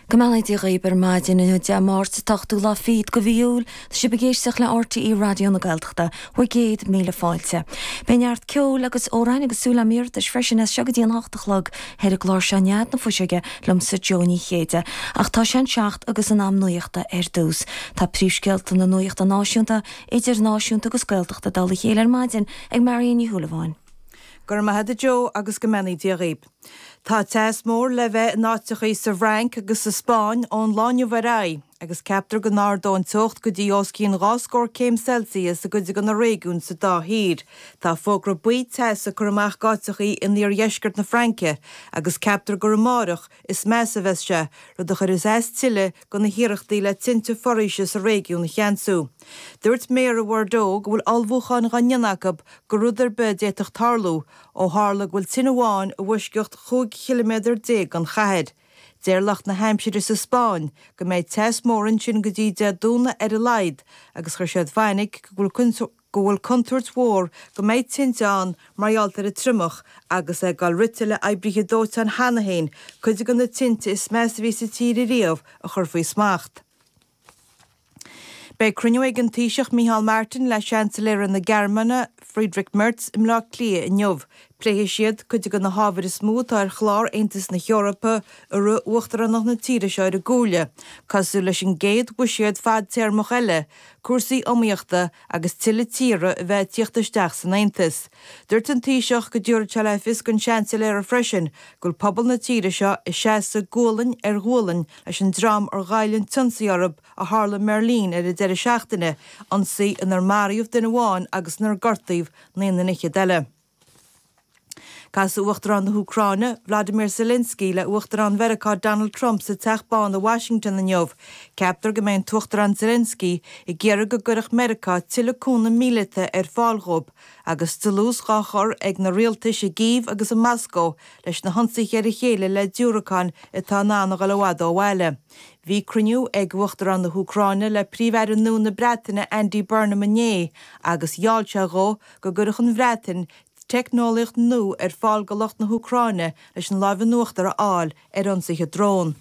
Go mbeannaí Dia dhaoib ar maidin inniu Dé Máirt an t-ochtú lá fichead de mhí Iúil. Tá sibh ag éisteacht le RTÉ Raidió na Gaeltachta. Bhur gcéad míle fáilte. Beidh neart ceoil agus amhráin agus súil agam iarratais freisin as seo go dtí an hocht a chlog ar an gclár seo Nead na Fuiseoige liomsa Jó Ní Chéide. Ach tá sé an seacht agus in am nuachta ar dtús. Tá príomhscéalta na nuachta náisiúnta, idirnáisiúnta agus Gaeltachta i dtoll a chéile ar maidin ag Marion Ní Shúilleabháin. Go raibh maith agat a Jó agus go mbeannaí Dia dhaoib. Tá teas mór le bheith in áiteachaí sa bhFrainc agus sa Spáinn ón lá inniu ar aghaidh agus ceaptar go n-ardóidh an teocht go dtí os cionn 2 scór céim Celsius i gcuid de na réigiúin sa dá thír. Tá fógra buí teasa curtha amach d'áiteachaí in iardheisceart na Fraince agus ceaptar gur amáireach is measa a bheas sé, rud a chuirfeas as tuilleadh do na hiarrachtaí le tinte foraoise sa réigiún a cheansú. Dúirt Méara Bhordeaux go bhfuil ullmhúcháin dhá ndéanamh acu do rud ar bith a d'fhéadfadh tarlú, ó tharla go bhfuil tine amháin i bhfoisceacht 15 chiliméadar den chathair. Deir lucht na haimsire sa Spáinn go mbeidh teas mór ansin go dtí Dé Domhnaigh ar a laghad agus chuir siad fainic go bhfuil contúirt mhór go mbeidh tinte ann mar gheall ar an triomach agus é ag dul rite le oibrithe dóiteáin cheana féin cuid de na tinte is measa a bhí sa tír ariamh a chur faoi smacht. Beidh cruinniú ag an Taoiseach Micheál Martin le Seansailéara na Gearmáine, Friedrich Merz, i mBleá Cliath inniu. Pléifidh siad cuid de na hábhair is mó atá ar chlár Aontas na hEorpa i rith uachtaránacht na tíre seo ar an gComhairle, cosúil leis an gcéad bhuiséad fadtéarmach eile, cúrsaí iomaíochta agus tuilleadh tíortha a bheith ag tíocht isteach san Aontas. Dúirt an Taoiseach go dtabharfaidh sé le fios don Seansailéara freisin go bhfuil pobal na tíre seo ag seasamh gualainn ar ghualainn leis an dream ar ghoill an t-ionsaí orthu a tharla i mBeirlín ar an deireadh seachtaine, ionsaí inar maraíodh duine amháin agus inar gortaíodh naonúr fhichead eile. Casfaidh Uachtarán na hÚcráine, Vladimir Zelensky, le Uachtarán Mheiriceá Donald Trump sa Teach Bán i Washington inniu. Ceaptar go mbeidh an tUachtarán Zelensky ag iarraidh go gcuirfeadh Meiriceá tuilleadh cúnamh míleata ar fáil dhóibh agus dlús dhá chur ag na rialtais i gCív agus i Moscó leis na hionsaithe ar a chéile le diúracáin atá in ann a dhul i bhfad ó bhaile. Bhí cruinniú ag Uachtarán na hÚcráine le Príomh-Aire nua na Breataine Andy Burnham inné agus gheall sé dhó go gcuirfeadh an Bhreatain teicneolaíocht nua ar fáil do lucht na hÚcráine leis an láimh in uachtar a fháil ar ionsaithe drón.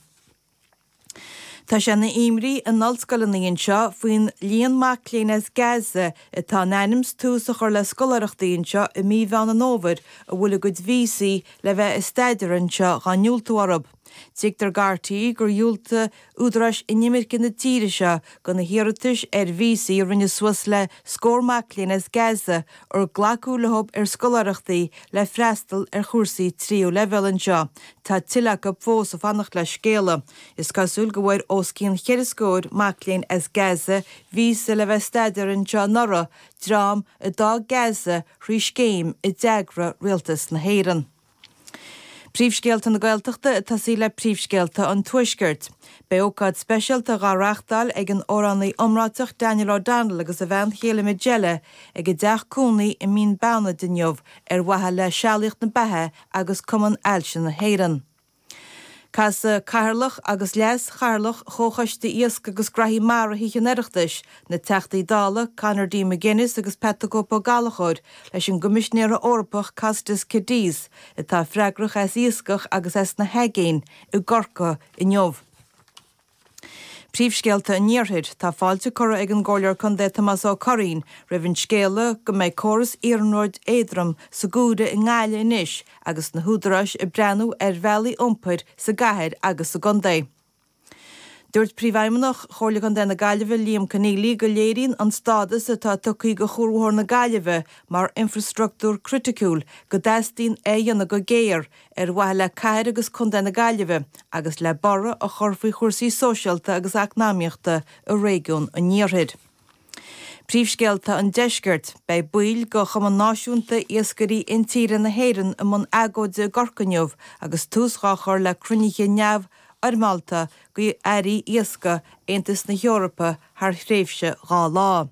Tá sé ina imní in ollscoileanna anseo faoin líon mac léinn as Gaza atá in ainm 's tús a chur le scoláireachtaí anseo i mí Mheán an Fhómhair a bhfuil a gcuid víosaí le bheith ag staidéar anseo dhá ndiúltú orthu. Tuigtear do RTÉ gur dhiúltaigh údaráis inimirce na tíre seo do na hiarratais ar víosaí a rinne suas le scór mac léinn as Gaza ar glacadh leo ar scoláireachtaí le freastal ar chúrsaí tríú leibhéal anseo. Tá tuilleadh acu fós ag fanacht le scéala. Is cosúil go bhfuair os cionn cheithre scóir mac léinn as Gaza víosa le bheith ag staidéar anseo anuraidh, dream a d'fhág Gaza thrí scéim a d'eagraigh rialtas na hÉireann. Príomhscéalta na Gaeltachta ag tosaí le príomhscéalta an Tuaiscirt. Beidh ócáid speisialta dhá reachtáil ag an amhránaí iomráiteach Daniel O'Donnell agus a bhean chéile Majella ag a dteach cónaí i Mín Beannaid inniu ar mhaithe le Sealaíocht na Beatha agus Cumann Ailse na hÉireann. Casfaidh Cathaoirleach agus Leas-Chathaoirleach Chomhchoiste Iasc agus Graithí Mara Thithe an Oireachtais, na Teachtaí Dála Conor D. McGuinness agus Pat the Cope Ó Gallchóir leis an gCoimisinéara Eorpach Costas Kadis, atá freagrach as iascach agus as na haigéin, i gCorcaigh inniu. Príomhscéalta an Iarthair, Tá fáilte curtha ag an gComhairleoir Contae Tomás Ó Curraoin roimh an scéala go mbeidh córas iarnróid éadrom sa gCuaire i nGaillimh anois agus na húdaráis ag breathnú ar bhealaí iompair sa gcathair agus sa gcontae. Dúirt Príomhfheidhmeannach Chomhairle Contae na Gaillimhe Liam Conneally go léiríonn an stádas atá tugtha do Chuarbhóthar na Gaillimhe mar infreastruchtúr criticiúil go dteastaíonn é a dhéanamh go géar ar mhaithe le cathair agus contae na Gaillimhe agus le borradh a chur faoi chúrsaí sóisialta agus eacnamaíochta i réigiún an Iarthair. Príomhscéalta an Deiscirt, Beidh baill de Chumann Náisiúnta Iascairí Intíre na hÉireann i mbun agóide i gCorcaigh inniu agus tús dhá chur le cruinnithe neamhfhoirmeálta d'airí iascaigh Aontas na hEorpa thar thréimhse 2 lá.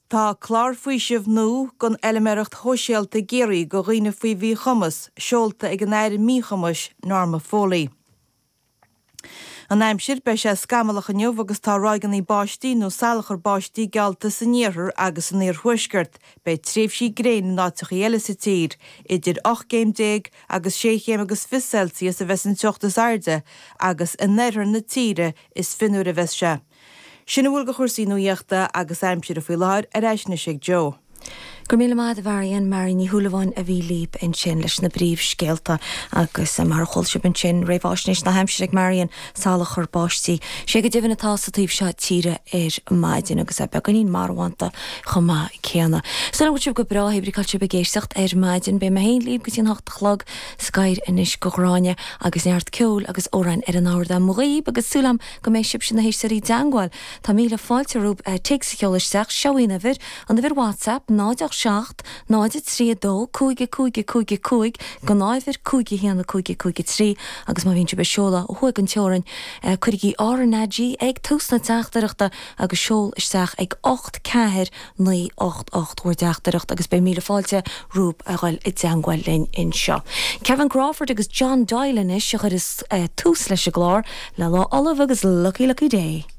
Tá clár faoisimh nua don fheilméaracht shóisialta i gCiarraí do dhaoine faoi mhíchumas seolta ag an Aire Míchumais, Norma Foley. An aimsir, Beidh sé scamallach inniu agus tá ráigeanna báistí nó salachar báistí geallta san iarthar agus san iarthuaisceart. Beidh tréimhsí gréine in áiteachaí eile sa tír. Idir 18 gcéim agus sé chéim agus fich Celsius a bheas an teocht is airde agus in oirthear na tíre is fionnuaire a bheas sé. Sin a bhfuil de chúrsaí nuaíochta agus aimsire faoi láthair, ar ais anois ag Joe. Go raibh míle maith agat a Mharion, Marion Ní Shúilleabháin a bhí libh ansin leis na bpríomhscéalta agus mar a chuala sibh ansin, réamháisnéis na haimsire ag Marion, salachar báistí. Sé go deimhin atá sa taobh seo tíre ar maidin agus é beagáinín marbhánta chomh maith céanna. Súil agam go bhfuil sibh go breá, hé brí cá bhfuil sibh ag éisteacht ar maidin. Beidh mé féin libh go dtí an hocht a chlog. Scoir anois go Gráinne agus neart ceoil agus amhráin ar an ardán dhaoibh agus súil agam go mbeidh sibhse na héisteoirí i dteangmháil. Tá míle fáilte romhaibh téacs a sheoladh isteach, seo í an uimhir, an uimhir WhatsApp, 0 8 7 0 3 2 5 5 5 5, gnáthuimhir 5 1 5 5 3 agus má bhíonn sibh ag seoladh ó thuaidh den teorainn, cuirigí RnaG ag tús na teachtaireachta agus seol isteach ag 8 4 9 8 8 bhur dteachtaireacht agus beidh míle fáilte romhaibh a dhul i dteangmháil linn anseo. Kevin Crawford agus John Doyle anois a chuireas tús leis an gclár le Lá Ullamh agus Lucky Lucky Day.